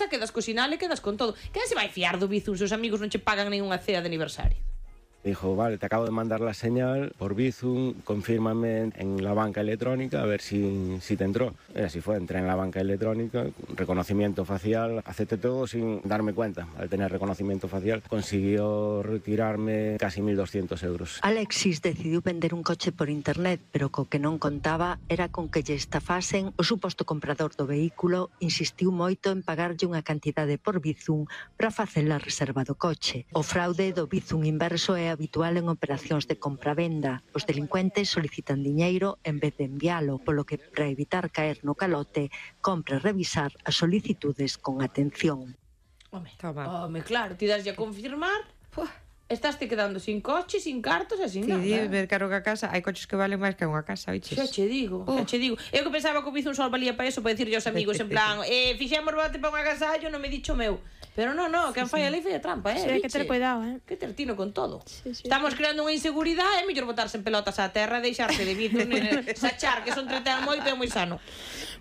quedas co sinal e quedas con todo. Quen se vai fiar do Bizum se os amigos non che pagan nin unha cea de aniversario? Dijo, vale, te acabo de mandar la señal por Bizum, confírmame en la banca electrónica a ver si te entró. Y así fue, entré en la banca electrónica, reconocimiento facial, acepté todo sin darme cuenta. Al tener reconocimiento facial consiguió retirarme casi 1.200 euros. Alexis decidiu vender un coche por internet, pero co que non contaba era con que lle estafasen. O suposto comprador do vehículo insistiu moito en pagarlle unha cantidade por Bizum para facer a reserva do coche. O fraude do Bizum inverso é habitual en operacións de compra-venda. Os delincuentes solicitan diñeiro en vez de envialo, polo que, para evitar caer no calote, compre revisar as solicitudes con atención. Home, claro, ti daslle a confirmar, estaste quedando sin coche, sin cartos e sin nada. Ti ver caro que a casa, hai coches que valen máis que unha casa, oiches? Xa che digo. Eu que pensaba que o Bizum só valía para eso, para dicirlle aos amigos en plan, fixemos bote para un agasallo, non me dicho meu. Pero non, quen fai a lei fai a trampa, Sí, hai que ter cuidado, Que ter tino con todo. Sí. Estamos creando unha inseguridade, é mellor botarse en pelotas á terra e deixarse de Bizum, sachar que son entretén moito e moi sano.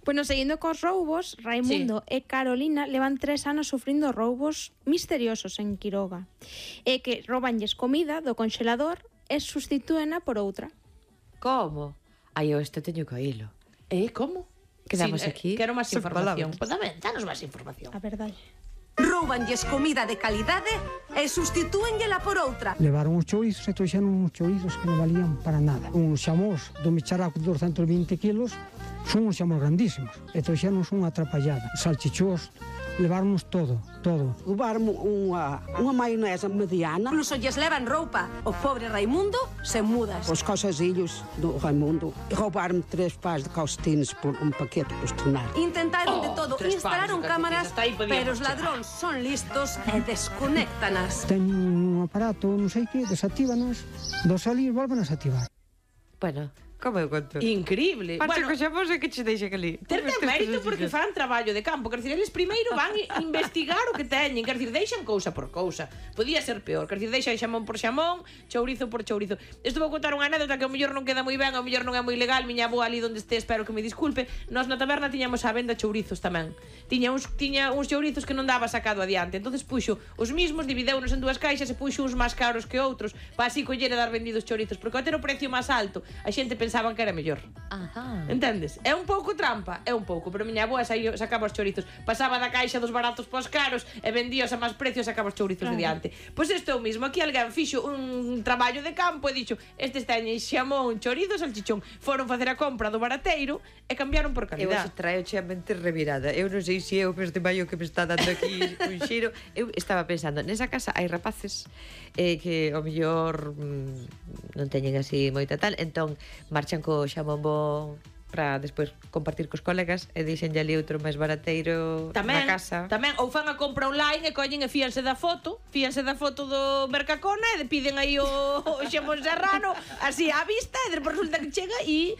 Bueno, seguindo cos roubos, Raimundo e Carolina levan 3 anos sufrindo roubos misteriosos en Quiroga. E que roubanlles comida do conxelador e sustitúena por outra. Como? Ai, eu isto teño que oílo. Como? Quedamos aquí. Quero máis información. Pois danos máis información. A verdade. Roubanlles comida de calidade e sustitúenllela por outra. Levaron os chourizos e trouxeron uns chourizos que non valían para nada. Un xamós do Micharaco de 220 kilos, son uns xamós grandísimos. E trouxeron unha atrapallada. Salchichós, levarnos todo. Levaron unha maionesa mediana. Incluso lles levan roupa. O pobre Raimundo se mudas. Os calçasillos do Raimundo. Roubaron 3 pares de calcetines por un paquete postonal. Intentaron de todo, 3 instalaron pares de cámaras, calcetines, hasta aí podíamos pero os ladróns son listos e desconéctanas. Teñen un aparato, non sei que, desactívanos, do salir volven a activar. Bueno, como eu conto? Increíble. Parche co xamós e que che deixa que ali. Ter mérito porque fan traballo de campo. Quer dicir, eles primeiro van investigar o que teñen. Quer dicir, deixan cousa por cousa. Podía ser peor. Quer dicir, deixan xamón por xamón, chourizo por chourizo. Isto vou contar unha anécdota que ao mellor non queda moi ben, ao mellor non é moi legal. Miña avó ali onde este, espero que me disculpe. Nós na taberna tiñamos á venda chourizos tamén. Tiña uns chourizos que non daba sacado adiante. Entonces puxo os mismos, divideunos en 2 caixas e puxo uns máis caros que outros para así coller e dar vendidos chourizos. Porque ao ter o precio máis alto, a xente pensaban que era mellor. Ajá. Entendes? É un pouco trampa, é un pouco, pero miña avoa sacaba os chourizos, pasaba da caixa dos baratos pos caros e vendíos a máis precios e sacaba os chourizos de diante. Pois isto é o mismo, aquí alguén fixo un traballo de campo e dixo, estes teñen xamón, chorizo, salchichón, foron facer a compra do barateiro e cambiaron por Eu calidad. se traio a mente revirada. Eu non sei se é o peste maio que me está dando aquí un xiro. Eu estaba pensando, nesa casa hai rapaces que ao mellor non teñen así moita tal, entón marchan co xamón bo para despois compartir cos colegas e dixenlle ali outro máis barateiro na casa. Tamén, ou fan a compra online e collen e fíanse da foto do Mercacona e piden aí o xamón serrano así á vista e despois resulta que chega e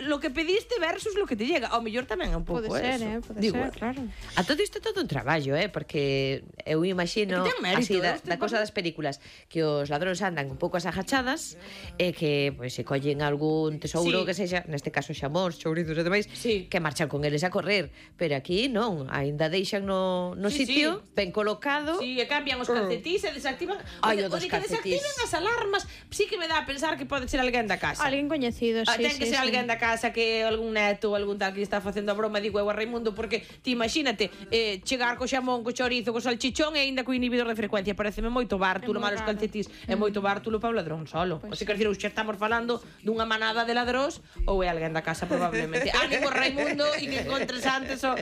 lo que pediste versus lo que te llega. Ao mellor tamén é un pouco Pode ser, eso. pode ser, claro. A todo isto é todo un traballo, porque eu imagino así da cosa das películas que os ladróns andan un pouco as agachadas e que pois se collen algún tesouro que sexa, neste caso xamón, chourizos e demais, que marchan con eles a correr, pero aquí non, aínda deixan no sitio ben colocado. Sí, e cambian os calcetís e desactivan. O de que desactiven as alarmas, sí que me dá a pensar que pode ser alguén da casa. Alguén coñecido, sí. Ten que ser alguén da casa, que algún neto ou algún tal que está facendo a broma, digo eu a Raimundo, porque ti imagínate chegar co xamón, co chorizo, co salchichón e aínda co inhibidor de frecuencia, pareceme moito bártulo, malos calcetís, é moito bártulo para o ladrón solo. O sea, quer dizer, xa estamos falando dunha manada de ladróns ou é alguén da casa probablemente. Ánimo Raimundo e que encontres antes eu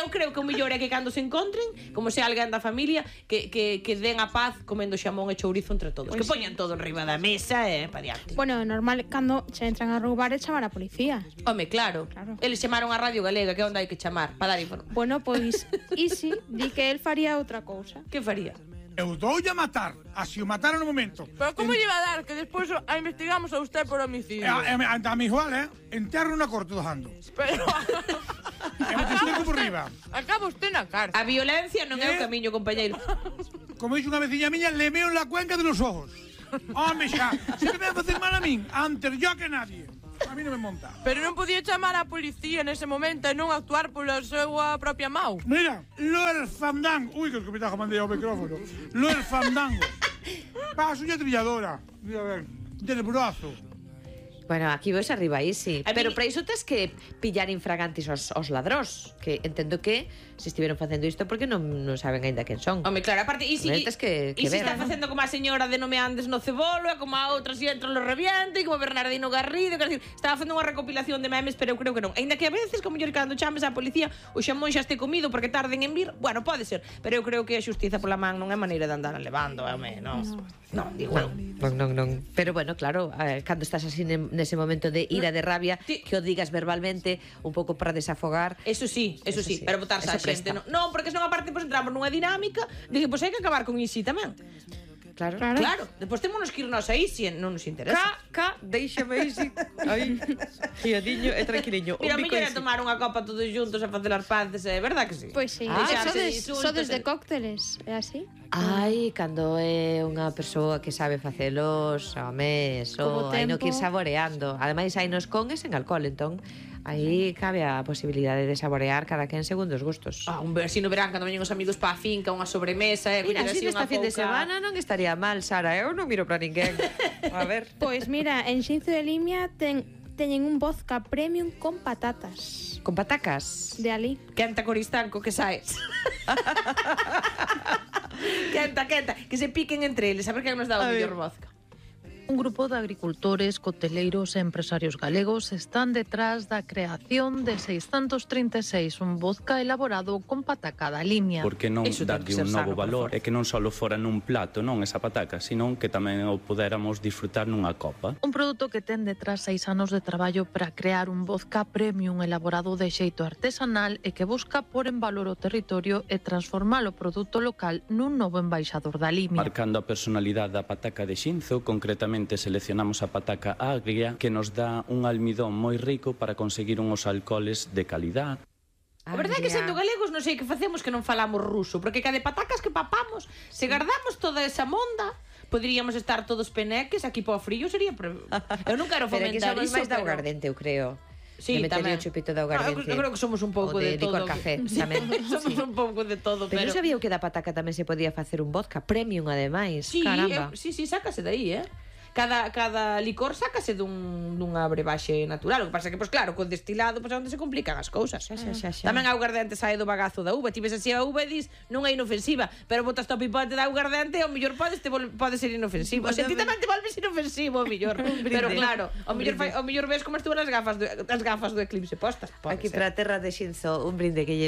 creo que o mellor é que cando se encontren, como se alguén da familia, que den a paz comendo xamón e chourizo entre todos, que poñan todo enriba da mesa e pa diante. Bueno, é normal cando se entran a roubar e chamar a policía. Home, claro. Eles chamaron a Radio Galega, que onde hai que chamar para dar información. Bueno, pois Isi di que el faría outra cousa. Que faría? Eu doulle a matar, así o mataron no momento. Pero como lle va a dar? Que despois a investigamos a usted por homicidio. A mi igual, enterro na corte do jando. Pero... E me te por riba. Acaba usted na cárcel. A violencia non é o camiño, compañeiro. Como dixo unha veciña miña, le meo en la cuenca de los ojos. Home, xa, se me vai facer mal a min, antes yo que nadie. a mí non me monta. Pero non podía chamar a policía nese momento e non actuar pola súa propia mau. Mira, lo del fandango. Uy, que escupitajo mandei ao micrófono. Lo del fandango. Paso unha trilladora. Mira, a ver, del brazo. Bueno, aquí vos arriba aí, sí. Pero para iso tes que pillar infragantis os ladróns, que entendo que se estiveron facendo isto porque non saben aínda quen son. Home, claro, aparte, e si que se está facendo como a señora de Non me andes no cebolo, e como a outra si entro lo reviento, e como Bernardino Garrido, quer decir, estaba facendo unha recopilación de memes, pero eu creo que non. Aínda que a veces, como yo cando chames á policía, o xamón xa este comido porque tarden en vir, bueno, pode ser, pero eu creo que a xustiza pola man non é maneira de andar levando, home, non. Non, digo eu. Non. Pero bueno, claro, cando estás así nese momento de ira, de rabia, que o digas verbalmente un pouco para desafogar. Eso sí, pero botarse a xente. Non, porque senón aparte entramos nunha dinámica de que hai que acabar con iso tamén. Claro. Depois temos que irnos aí se non nos interesa. Deixame isi. Aí, guiadiño e tranquiliño. Mira, mellor é tomar unha copa todos juntos e facer as paces, é verdad que sí? Pois sí. Sodes de cócteles, é así? Ai, cando é unha persoa que sabe facelos, home, eso, hai no que ir saboreando. Ademais, hai nos con e sen alcohol, entón aí cabe a posibilidade de saborear cada quen segundo os gustos. Un versino verán cando veñen os amigos pa finca, unha sobremesa, mira, así nesta fin de semana non estaría mal, Sara, eu non miro para ninguén. A ver. Pois mira, en Xinzo de Limia teñen un vodka premium con patatas. Con patacas? De ali. Quenta coristanco que saes. Quenta, que se piquen entre eles, a ver quen nos dá o mellor vodka. Un grupo de agricultores, coteleiros e empresarios galegos están detrás da creación de 636, un vodka elaborado con pataca da Limia. Por que non darlle un novo valor e que non só fora nun plato, non esa pataca, senón que tamén o podéramos disfrutar nunha copa. Un produto que ten detrás 6 anos de traballo para crear un vodka premium elaborado de xeito artesanal e que busca por en valor o territorio e transformar o produto local nun novo embaixador da Limia. Marcando a personalidade da pataca de Xinzo, concretamente seleccionamos a pataca agria que nos dá un almidón moi rico para conseguir unhos alcoholes de calidad. A verdade é que sendo galegos non sei que facemos que non falamos ruso, porque cada patacas que papamos, se guardamos toda esa monda, poderíamos estar todos peneques, aquí po frío sería... Eu non quero fomentar iso, pero... Pero que somos máis de augardente, eu creo. Sí, de meterle o chupito de augardente. Eu creo que somos un pouco de todo. O de licor café, tamén. Somos un pouco de todo, pero... non sabía que da pataca tamén se podía facer un vodka premium, ademais. Sí, caramba. Sí, sácase de aí, Cada licor sácase dunha brebaxe natural. O que pasa que, pois claro, con destilado é onde se complican as cousas. Tamén a augardente sae do bagazo da uva. Ti ves así a uva e dis, non é inofensiva, pero botas o pipote da augardente e ao mellor pode ser inofensivo. O sea, ti tamén te volves inofensivo, ao mellor. Pero claro, ao mellor ves como estuvo as gafas do eclipse postas. Aquí para a terra de Xinzo, un brinde que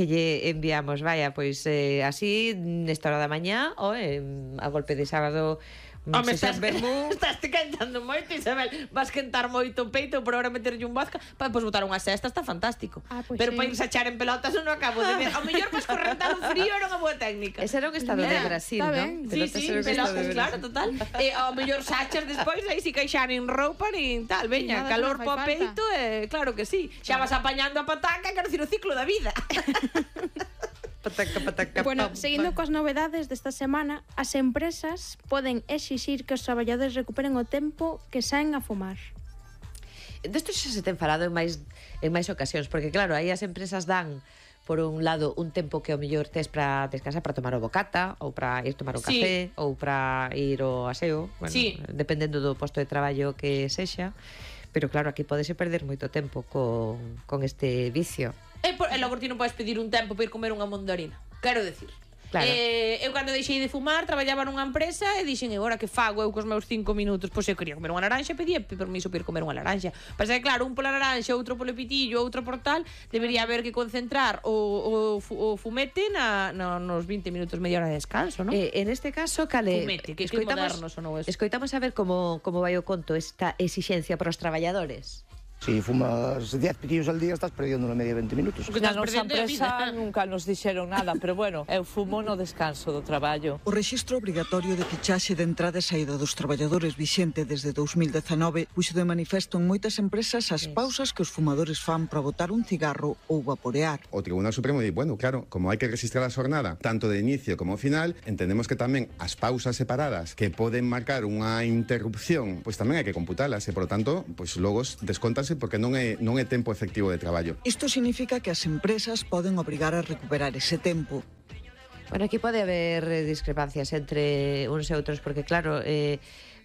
lle enviamos, vaya, pois así, nesta hora da mañá, ou a golpe de sábado. Home, estás quentando moito, Isabel. Vas quentar moito o peito por ahora meterlle un vodka para depois botar unha cesta, está fantástico. Pero para irse a echar en pelotas non acabo de ver. Ao mellor pois correntar o frío era unha boa técnica. Ese era un estado de Brasil, non? Sí, pelotas, claro, total. Ao mellor sachas despois, aí si caixar en roupa nin tal, veña, calor po peito, claro que sí. Xa vas apañando a pataca, quero dicir, o ciclo da vida. Pataca. Bueno, seguindo coas novedades desta semana, as empresas poden exixir que os traballadores recuperen o tempo que saen a fumar. Desto xa se ten falado en máis ocasións, porque claro, aí as empresas dan por un lado un tempo que ao mellor tes para descansar, para tomar o bocata, ou para ir tomar un café, ou para ir ao aseo, bueno, dependendo do posto de traballo que sexa. Pero claro, aquí podese perder moito tempo con este vicio. E logo ti non podes pedir un tempo para ir comer unha mandarina. Quero decir, claro. Eu cando deixei de fumar traballaba nunha empresa e dixen, agora que fago eu cos meus 5 minutos? Pois eu quería comer unha laranxa, pedía permiso para ir comer unha laranxa. Pasa que claro, un pola laranxa, outro polo pitillo, outro por tal, debería haber que concentrar o fumete nos 20 minutos, media hora de descanso, non? En este caso, cale, fumete, que moderno sonou eso. Escoitamos a ver como vai o conto esta exixencia para os traballadores. Si fumas 10 pitillos al día, estás perdiendo na media 20 minutos. Na nosa empresa nunca nos dixeron nada, pero bueno, eu fumo no descanso do traballo. O rexistro obrigatorio de fichaxe de entrada e saída dos traballadores vixente desde 2019 puxo de manifesto en moitas empresas as pausas que os fumadores fan para botar un cigarro ou vaporear. O Tribunal Supremo di, bueno, claro, como hai que registrar a xornada tanto de inicio como final, entendemos que tamén as pausas separadas que poden marcar unha interrupción, pois tamén hai que computalas e, por lo tanto, pois logo descóntanse porque non é tempo efectivo de traballo. Isto significa que as empresas poden obrigar a recuperar ese tempo. Bueno, aquí pode haber discrepancias entre uns e outros, porque claro,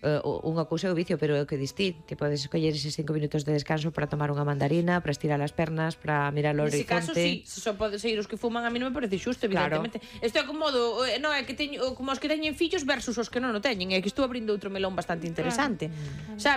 unha cousa é o vicio, pero é o que distí. Te podes escoller eses 5 minutos de descanso para tomar unha mandarina, para estirar as pernas, para mirar o horizonte. Nese caso, sí, se só pode seguir os que fuman, a mí non me parece xusto, evidentemente. Isto é como é que teño, como os que teñen fillos versus os que non o teñen, é que estou abrindo outro melón bastante interesante.